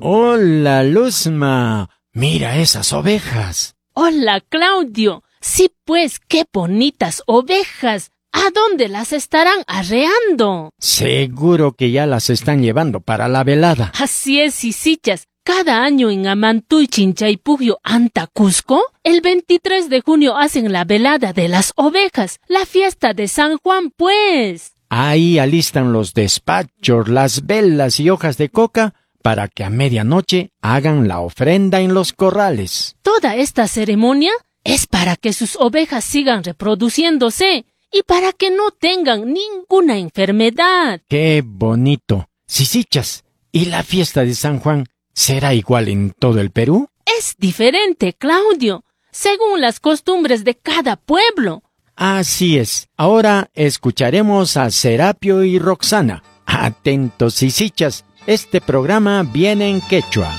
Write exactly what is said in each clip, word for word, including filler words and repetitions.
Hola, Luzma. Mira esas ovejas. Hola, Claudio. Sí, pues, qué bonitas ovejas. ¿A dónde las estarán arreando? Seguro que ya las están llevando para la velada. Así es, sisichas. Cada año en Amantuy, Chinchaypugio, Anta, Cusco, el veintitrés de junio hacen la velada de las ovejas, la fiesta de San Juan, pues. Ahí alistan los despachos, las velas y hojas de coca para que a medianoche hagan la ofrenda en los corrales. Toda esta ceremonia es para que sus ovejas sigan reproduciéndose y para que no tengan ninguna enfermedad. ¡Qué bonito! Sisichas, ¿y la fiesta de San Juan será igual en todo el Perú? Es diferente, Claudio, según las costumbres de cada pueblo. Así es. Ahora escucharemos a Serapio y Roxana. Atentos, sisichas, este programa viene en quechua.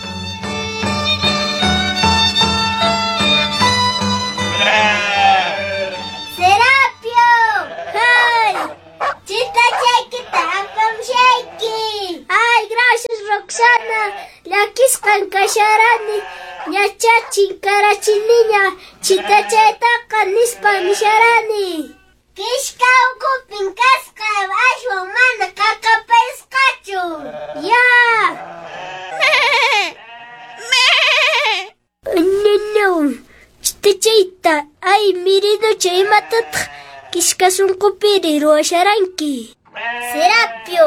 ¡Serapio! ¡Ay! ¡Chitachaykita apamushayki! ¡Ay, gracias, Roxana! Llakisqan kasharani, ñachá chinkarachiniña, chitachaytaqa nispa nisharani. Kishka ukupin kasqa, ashwan mana qaqapayasqachu. Ya! No, chitachayta, ay, mirinucha, imatataq kishka sunqupiri ruwasharanki. Serapio,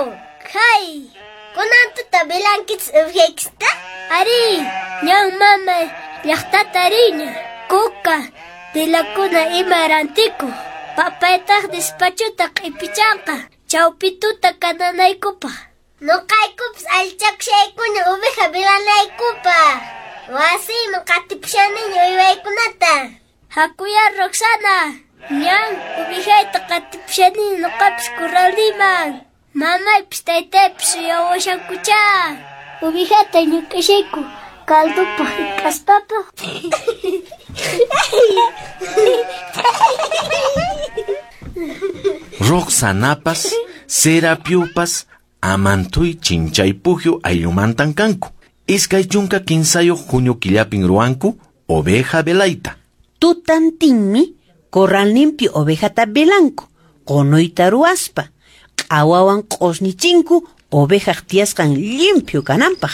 hay! Kunan tuta velankichis ovejaykista? Ari, ñan mama llaqtata riña, kuka, velakuna ima rantiku. Papaytaq despachuta q'ipichanqa, chawpi tuta kananaykupaq. Nuqaykupas allichakushaykuna oveja velanaykupaq. Wasiyman qatipushaniña uywaykunata. Hakuya, Roxana, ñan ovejayta qatipushaniña nuqapas corralniman. Mamaypis taytaypis suyawashankuchá. Ovejata ñuk'ashayku caldupaq hik'aspapaq. Roxanapas, Serapiopas, Amantuy Chinchaypugio ayllumantan kanku. Iskay chunka kinsayuq junio killapin ruwanku oveja velayta. Tutantinmi corralninpi ovejata velanku, qunuyta ruwaspa. Q'awawan q'usnichinku ovejaq tiyasqan limpio kananpaq.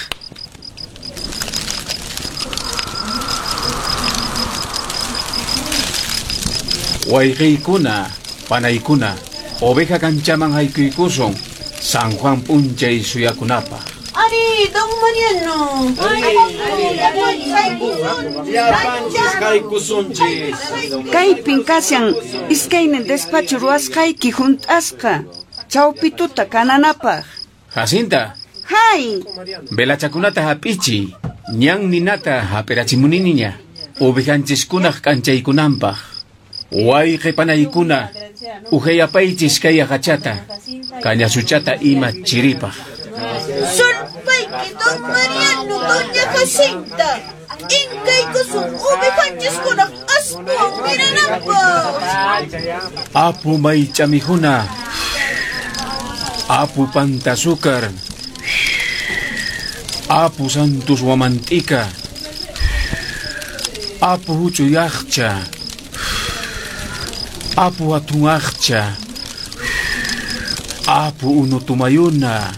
Wayqiykuna, panaykuna, oveja kanchaman haykuykusun San Juan p'unchay suyakunapaq. Ari, don Mariano. Llapanchis haykusunchis. Kaypin kashan iskaynin despacho ruwasqayki hunt'asqa. Chawpi tuta kananapaq. Jacinta. Hay. Velachakunata hap'ichi, ñan ninata hap'irachimuniniña, ovejanchiskunaq k'anchaykunanpaq. Wayqi panaykuna, uhayapaychis kay aqhachata, kañasuchata ima chiripaq. Sulpayki, don Mariano, doña Jacinta. Inkaykusun ovejanchiskunaq aspuwan mirananpaq. Apu maych'amijuna, Apu pantazúcar, Apu Santos Huamantica, Apu huch'uyaqcha, Apu hatunaqcha, Apu unutumayuna.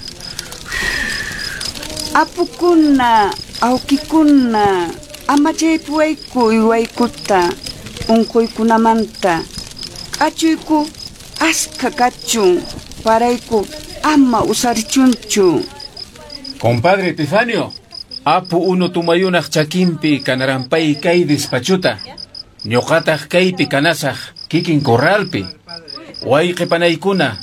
Apukuna, awkikuna, amachaypuwayku uywaykuta, unquykunamanta. K'achuyku askha kachun, parayku ama usarichunchu. Compadre Epifanio, Apu unutumayunaq chakinpi kanarampay kay despachuta. Ñuqataq kaypi kanasaq kikin corralpi. Wayqi panaykuna,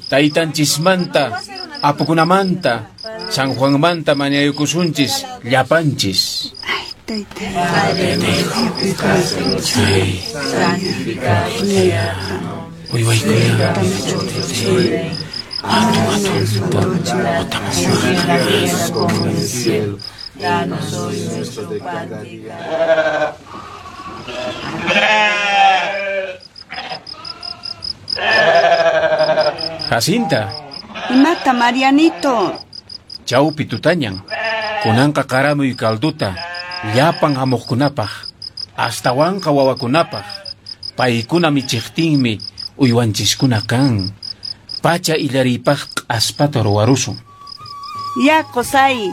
taytanchismanta, apukunamanta, San Juanmanta mañaykusunchis llapanchis. Ay, tayta. Uywaykuna. Jacinta. Imata, Marianito. Chawpi tutañan. Kunanqa qaramuy calduta, llapan hamuqkunapaq, astawanqa wawakunapaq. Paykuna michiqtinmi uywanchiskuna kan. Pacha illariypaq q'aspata ruwarusun. Ya, qusay.